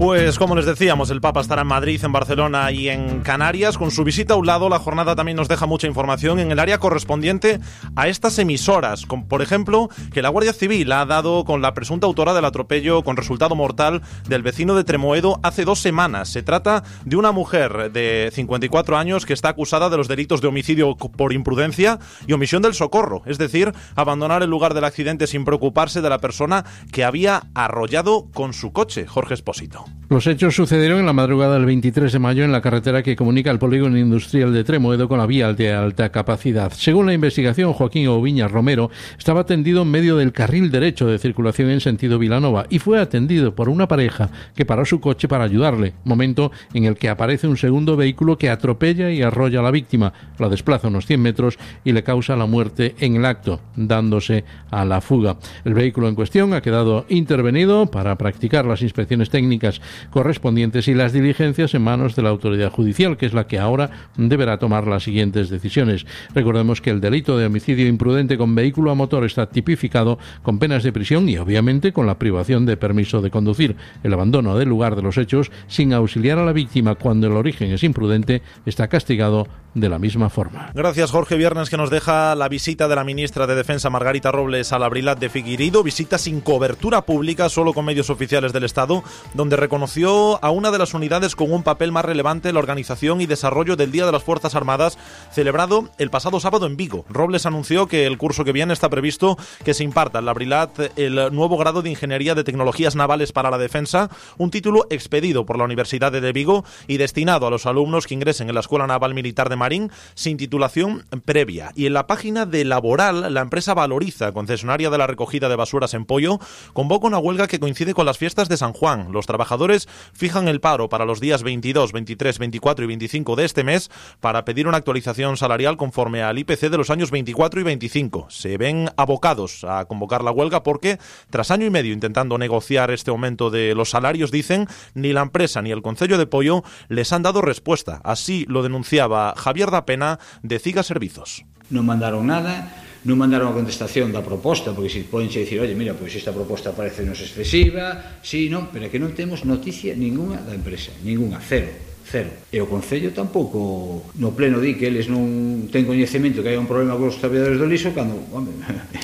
Pues como les decíamos, el Papa estará en Madrid, en Barcelona y en Canarias. Con su visita a un lado, la jornada también nos deja mucha información en el área correspondiente a estas emisoras. Como, por ejemplo, que la Guardia Civil ha dado con la presunta autora del atropello con resultado mortal del vecino de Tremoedo hace 2 semanas. Se trata de una mujer de 54 años que está acusada de los delitos de homicidio por imprudencia y omisión del socorro, es decir, abandonar el lugar del accidente sin preocuparse de la persona que había arrollado con su coche. Jorge Espósito. Los hechos sucedieron en la madrugada del 23 de mayo en la carretera que comunica el polígono industrial de Tremoedo con la vía de alta capacidad. Según la investigación, Joaquín Oviñas Romero estaba tendido en medio del carril derecho de circulación en sentido Vilanova y fue atendido por una pareja que paró su coche para ayudarle, momento en el que aparece un segundo vehículo que atropella y arrolla a la víctima, la desplaza unos 100 metros y le causa la muerte en el acto, dándose a la fuga. El vehículo en cuestión ha quedado intervenido para practicar las inspecciones técnicas correspondientes y las diligencias en manos de la autoridad judicial, que es la que ahora deberá tomar las siguientes decisiones. Recordemos que el delito de homicidio imprudente con vehículo a motor está tipificado con penas de prisión y obviamente con la privación de permiso de conducir. El abandono del lugar de los hechos sin auxiliar a la víctima cuando el origen es imprudente está castigado de la misma forma. Gracias, Jorge. Viernes que nos deja la visita de la ministra de Defensa Margarita Robles a la Brilat de Figueiredo, visita sin cobertura pública, solo con medios oficiales del Estado, donde reconoció a una de las unidades con un papel más relevante en la organización y desarrollo del Día de las Fuerzas Armadas, celebrado el pasado sábado en Vigo. Robles anunció que el curso que viene está previsto que se imparta en la Brilat el nuevo grado de Ingeniería de Tecnologías Navales para la Defensa, un título expedido por la Universidad de Vigo y destinado a los alumnos que ingresen en la Escuela Naval Militar de Marín sin titulación previa. Y en la página de Laboral, la empresa Valoriza, concesionaria de la recogida de basuras en Poio, convoca una huelga que coincide con las fiestas de San Juan. Los trabajadores fijan el paro para los días 22, 23, 24 y 25 de este mes para pedir una actualización salarial conforme al IPC de los años 24 y 25. Se ven abocados a convocar la huelga porque, tras año y medio intentando negociar este aumento de los salarios, dicen, ni la empresa ni el Concello de Poio les han dado respuesta. Así lo denunciaba Javier da Pena de Ciga Servizos. Non mandaron nada, non mandaron a contestación da proposta, porque se podenche dicir, oye, mira, pois esta proposta parece nos excesiva, sí, non, pero é que non temos noticia ninguna da empresa, ninguna, cero. E o Concello tampouco no pleno di que eles non ten coñecemento que hai un problema con os traballadores do Liso cando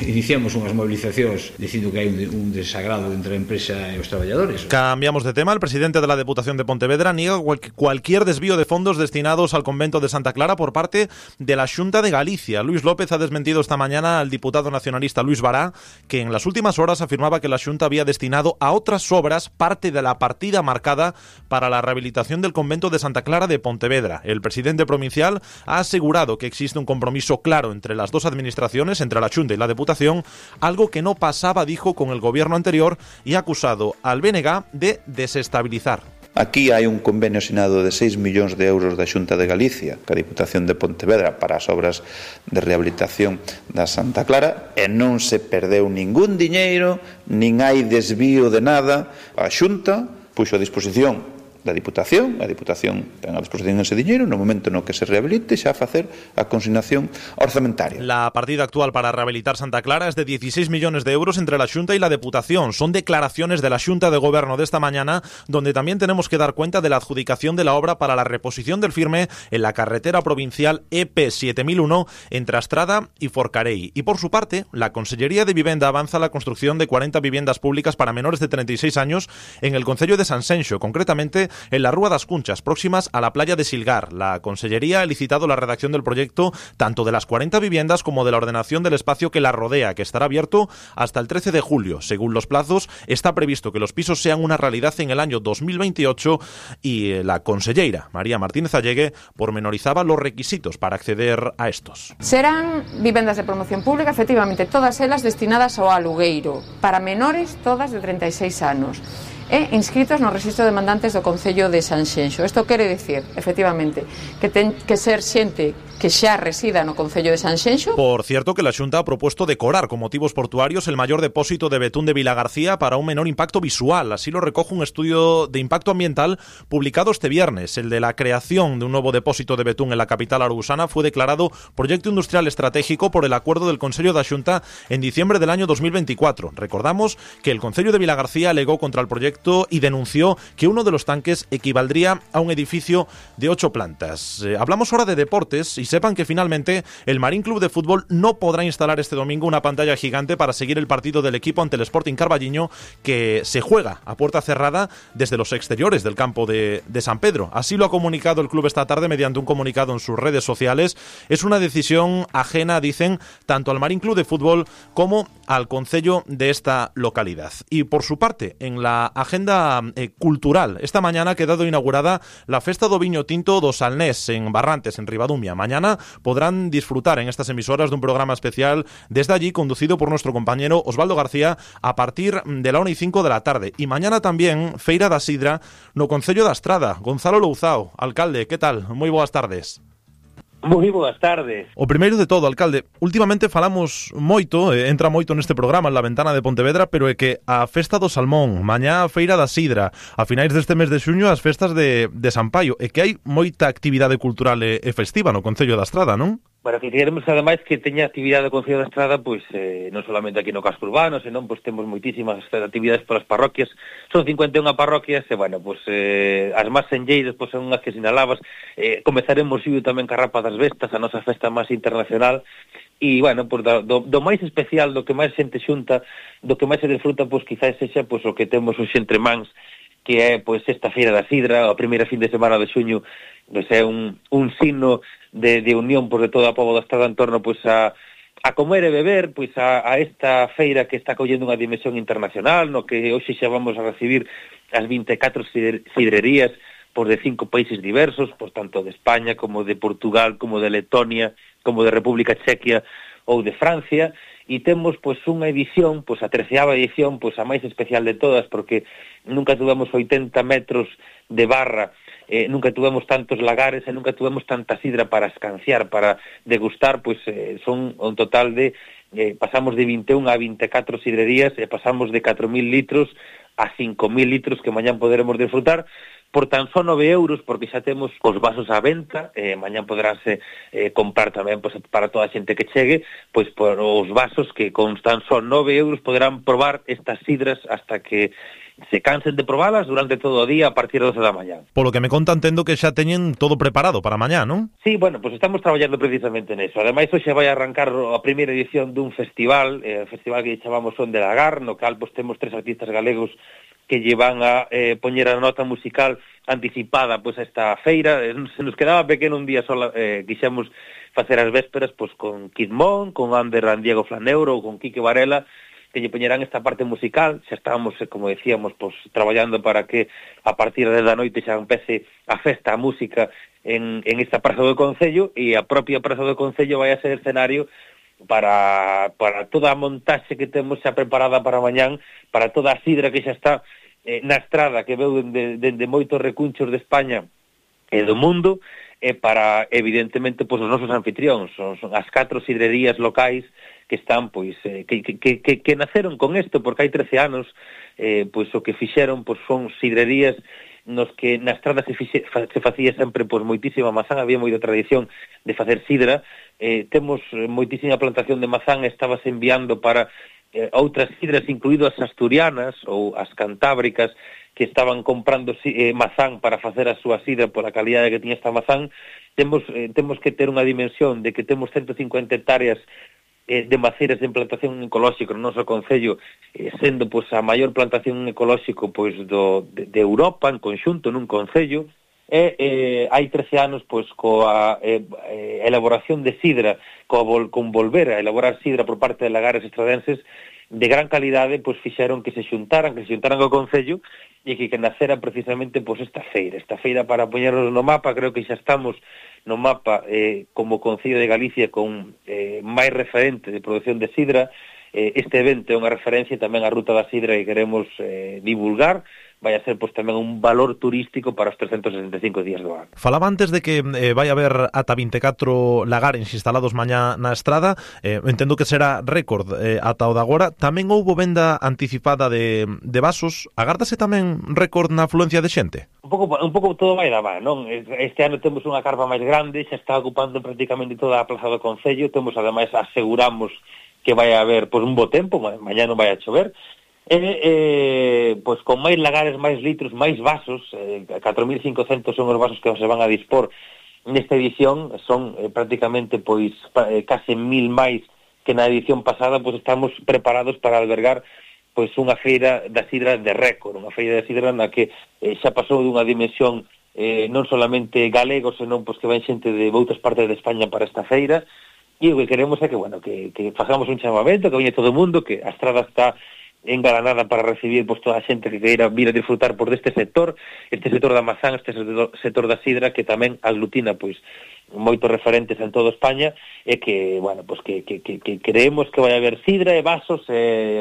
iniciamos unhas movilizacións dicindo que hai un desagrado entre a empresa e os traballadores. Cambiamos de tema. El presidente de la Deputación de Pontevedra niega cualquier desvío de fondos destinados al convento de Santa Clara por parte de la Xunta de Galicia. Luis López ha desmentido esta mañana al diputado nacionalista Luis Bará, que en las últimas horas afirmaba que la Xunta había destinado a otras obras parte de la partida marcada para la rehabilitación del convento de Santa Clara de Pontevedra. El presidente provincial ha asegurado que existe un compromiso claro entre las dos administraciones, entre la Xunta y la Deputación, algo que no pasaba, dijo, con el gobierno anterior, y ha acusado al BNG de desestabilizar. Aquí hai un convenio asinado de 6 millóns de euros da Xunta de Galicia ca Diputación de Pontevedra para as obras de rehabilitación da Santa Clara e non se perdeu ningún diñeiro, nin hai desvío de nada. A Xunta puxo a disposición da Diputación, a Diputación ten a disposición ese diñeiro no momento no que se rehabilite xa a facer a consignación orzamentaria. La partida actual para rehabilitar Santa Clara es de 16 millones de euros entre la Xunta y la Deputación. Son declaraciones de la Xunta de Gobierno de esta mañana, donde también tenemos que dar cuenta de la adjudicación de la obra para la reposición del firme en la carretera provincial EP 7001 entre Astrada y Forcarei. Y por su parte, la Consellería de Vivenda avanza la construcción de 40 viviendas públicas para menores de 36 años en el concello de Sanxenxo, concretamente en la Rúa das Cunchas, próximas a la playa de Silgar. La Consellería ha licitado la redacción del proyecto tanto de las 40 viviendas como de la ordenación del espacio que la rodea, que estará abierto hasta el 13 de julio. Según los plazos, está previsto que los pisos sean una realidad en el año 2028 y la conselleira María Martínez Allegue pormenorizaba los requisitos para acceder a estos. Serán vivendas de promoción pública, efectivamente, todas elas destinadas ao alugueiro, para menores todas de 36 anos. E inscritos no Rexistro de Demandantes do Concello de Sanxenxo. Isto quere dicir, efectivamente, que ten que ser xente que xa resida no Concello de Sanxenxo. Por cierto, que la Xunta ha propuesto decorar con motivos portuarios el mayor depósito de betún de Vilagarcía para un menor impacto visual. Así lo recoge un estudio de impacto ambiental publicado este viernes. El de la creación de un nuevo depósito de betún en la capital arusana fue declarado proyecto industrial estratégico por el acuerdo del Consello da Xunta en diciembre del año 2024. Recordamos que el Concello de Vilagarcía alegó contra el proyecto proyecto y denunció que uno de los tanques equivaldría a un edificio de 8 plantas. Hablamos ahora de deportes y sepan que finalmente el Marín Club de Fútbol no podrá instalar este domingo una pantalla gigante para seguir el partido del equipo ante el Sporting Carballiño, que se juega a puerta cerrada desde los exteriores del campo de San Pedro. Así lo ha comunicado el club esta tarde mediante un comunicado en sus redes sociales. Es una decisión ajena, dicen, tanto al Marín Club de Fútbol como al concello de esta localidad. Y por su parte, en la agenda cultural, esta mañana ha quedado inaugurada la Festa do Viño Tinto do Salnés en Barrantes, en Ribadumia. Mañana podrán disfrutar en estas emisoras de un programa especial desde allí, conducido por nuestro compañero Osvaldo García, a partir de la 1:05 de la tarde. Y mañana también Feira da Sidra no concello da Estrada. Gonzalo Louzao, alcalde, ¿qué tal? Moi boas tardes. Moi boas tardes. O primeiro de todo, alcalde, últimamente falamos moito, entra moito neste programa, en La Ventana de Pontevedra, pero é que a Festa do Salmón, mañá a Feira da Sidra, a finais deste mes de xuño as festas de San Paio, e que hai moita actividade cultural e festiva no concello da Estrada, non? Bueno, que queremos ademais que teña actividade o Concello da Estrada, pois non solamente aquí no casco urbano, senón pois temos moitísimas actividades polas parroquias. Son 51 parroquias e, bueno, pois as máis senlleiras pois son as que sinalabas. Comezaremos tamén ca Rapa das Vestas, a nosa festa máis internacional. E, bueno, pois do máis especial, do que máis xente xunta, do que máis se disfruta, pois quizás sexa pois o que temos hoxe entre mans, que é pois esta Feira da Sidra, a primeira fin de semana de xuño, pois é un signo de unión por de toda a pobo da Estrada en torno pois a comer e beber, pois a esta feira que está collendo unha dimensión internacional, no que hoxe xa vamos a recibir as 24 sidrerías por de 5 países diversos, por tanto de España, como de Portugal, como de Letonia, como de República Chequia ou de Francia, e temos pois unha edición, pois a 13ª edición, pois a máis especial de todas, porque nunca tuvemos 80 metros de barra, nunca tuvemos tantos lagares e nunca tuvemos tanta sidra para escanciar, para degustar, pois son un total de pasamos de 21 a 24 sidrerías e pasamos de 4.000 litros a 5.000 litros que mañán poderemos disfrutar por tan só 9 euros, porque xa temos os vasos á venta, mañán poderánse comprar tamén pois, para toda a xente que chegue, pois por os vasos que con tan só 9 euros poderán probar estas sidras hasta que se cansen de probalas durante todo o día a partir das 12 da mañá. Polo que me conta, entendo que xa teñen todo preparado para mañá, non? Sí, bueno, pues estamos traballando precisamente neso. Ademais, hoxe vai arrancar a primeira edición dun festival, festival que chamamos Son de Lagar, no cal pues, temos 3 artistas galegos que llevan a poñer a nota musical anticipada pois a esta feira. Se nos quedaba pequeno un día sola, quixemos facer as vésperas pois con Kid Mon, con Ander Diego Flaneuro ou con Quique Varela, que lle poñerán esta parte musical. Xa estábamos, como decíamos, pois traballando para que a partir da noite xa empece a festa, a música en esta praza do Concello, e a propia praza do Concello vai a ser escenario para toda a montaxe que temos xa preparada para mañán, para toda a sidra que xa está na estrada, que veu dende moitos recunchos de España e do mundo, e para, evidentemente, pois os nosos anfitrións, son as 4 sidrerías locais que están, pois, que naceron con isto, porque hai 13 anos, pois o que fixeron, pois son sidrerías nos que na estrada se facía sempre pois moitísima mazán, había moita tradición de facer sidra, temos moitísima plantación de mazán, estabas enviando para outras sidras, incluído as asturianas ou as cantábricas, que estaban comprando mazán para facer a súa sidra pola calidade que tiña esta mazán. Temos que ter unha dimensión de que temos 150 hectáreas de maceiras de plantación ecolóxica no noso concello, sendo pois a maior plantación ecolóxico pois de Europa en conxunto nun concello, e hai 13 anos pois coa elaboración de sidra, con volver a elaborar sidra por parte de lagares estradenses de gran calidade, pois fixeron que se xuntaran ao concello e que nacera precisamente pois esta feira para poñernos no mapa. Creo que xa estamos no mapa como Concello de Galicia con máis referente de produción de sidra. Este evento é unha referencia tamén á Ruta da Sidra que queremos divulgar. Vai a ser pois tamén un valor turístico para os 365 días do ano. Falaba antes de que vai haber ata 24 lagares instalados mañá na estrada. Entendo que será récord ata o de agora. Tamén houbo venda anticipada de vasos. Agárdase tamén récord na afluencia de xente? Un pouco todo vai da man, non? Este ano temos unha carpa máis grande, xa está ocupando prácticamente toda a plaza do Concello. Temos, ademais, aseguramos que vai haber pois un bo tempo, mañá non vai a chover. pois con máis lagares, máis litros, máis vasos, 4.500 son os vasos que se van a dispor nesta edición, son prácticamente pois case 1.000 máis que na edición pasada, pois estamos preparados para albergar pois unha feira da sidra de récord, unha feira da sidra na que xa pasou dunha dimensión non solamente galegos, senón pois que ven xente de outras partes de España para esta feira, e o que queremos é que, bueno, que facamos un chamamento, que veña todo o mundo, que a estrada está engalanada para recibir pois toda a xente que queira vir a disfrutar por deste sector da mazán, este sector da sidra, que tamén aglutina pois moitos referentes en toda España, e que, bueno, pois que creemos que vai haber sidra e vasos,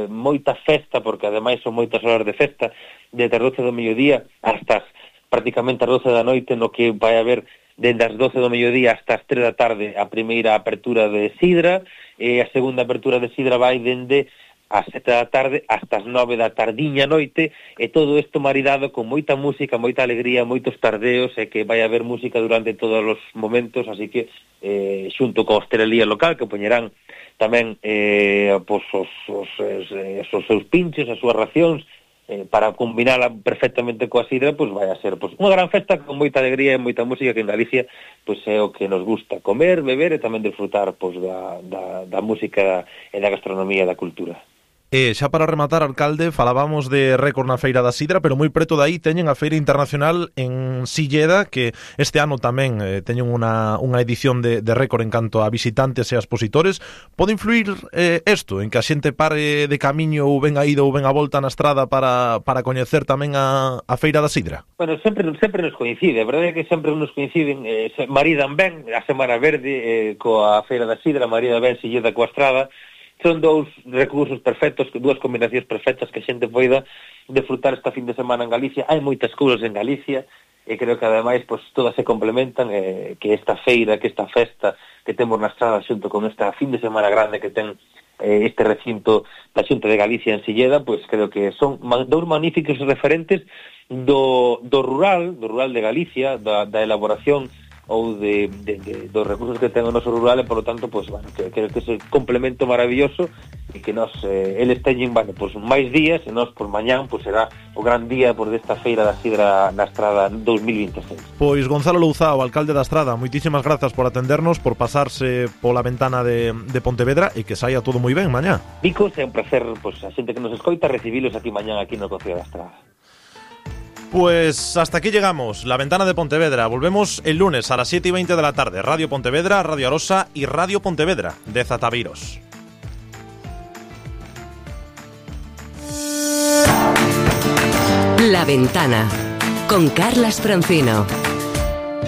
moita festa, porque ademais son moitas horas de festa, desde as 12 do mediodía hasta prácticamente as 12 da noite, no que vai haber dende as 12 do mediodía hasta as 3 da tarde a primeira apertura de sidra, e a segunda apertura de sidra vai dende ás 7 da tarde hasta as 9 da tardiña noite, e todo isto maridado con moita música, moita alegría, moitos tardeos, e que vai haber música durante todos os momentos, así que xunto con a hostelería local, que poñerán tamén pois os seus pinchos, as súas racións, para combinala perfectamente coa sidra, pois vai a ser pois unha gran festa con moita alegría e moita música, que en Galicia pois é o que nos gusta, comer, beber e tamén disfrutar pois da música e da gastronomía e da cultura. Xa para rematar, alcalde, falábamos de récord na Feira da Sidra, pero moi preto dai teñen a Feira Internacional en Silleda, que este ano tamén teñen unha edición de récord en canto a visitantes e a expositores. Pode influir isto en que a xente pare de camiño ou ben a ida ou ben a volta na estrada para coñecer tamén a Feira da Sidra? Bueno, sempre nos coincide, a verdade é que sempre nos coinciden, maridan ben a Semana Verde coa Feira da Sidra, maridan ben Silleda coa estrada. Son dous recursos perfectos, dúas combinacións perfectas que a xente poida disfrutar esta fin de semana en Galicia. Hai moitas cousas en Galicia, e creo que ademais pois todas se complementan, que esta feira, que esta festa que temos na estrada xunto con esta fin de semana grande que ten este recinto da Xunta de Galicia en Silleda, pois creo que son dous magníficos referentes do rural de Galicia, da elaboración ou dos recursos que ten o noso rural, e, polo tanto, pois, bueno, creo que é un complemento maravilloso, e que nos, eles teñen, bueno, pois, máis días, e nos, por mañán, pois, será o gran día por desta Feira da Sidra na Estrada 2026. Pois, Gonzalo Louzao, alcalde da Estrada, moitísimas grazas por atendernos, por pasarse pola ventana de Pontevedra, e que saia todo moi ben mañá. Vicos, é un placer, pois, a xente que nos escoita, recibilos aquí mañán, aquí no Concello da Estrada. Pues hasta aquí llegamos, La Ventana de Pontevedra. Volvemos el lunes a las 7:20 de la tarde. Radio Pontevedra, Radio Arosa y Radio Pontevedra de Zataviros. La Ventana con Carlas Francino.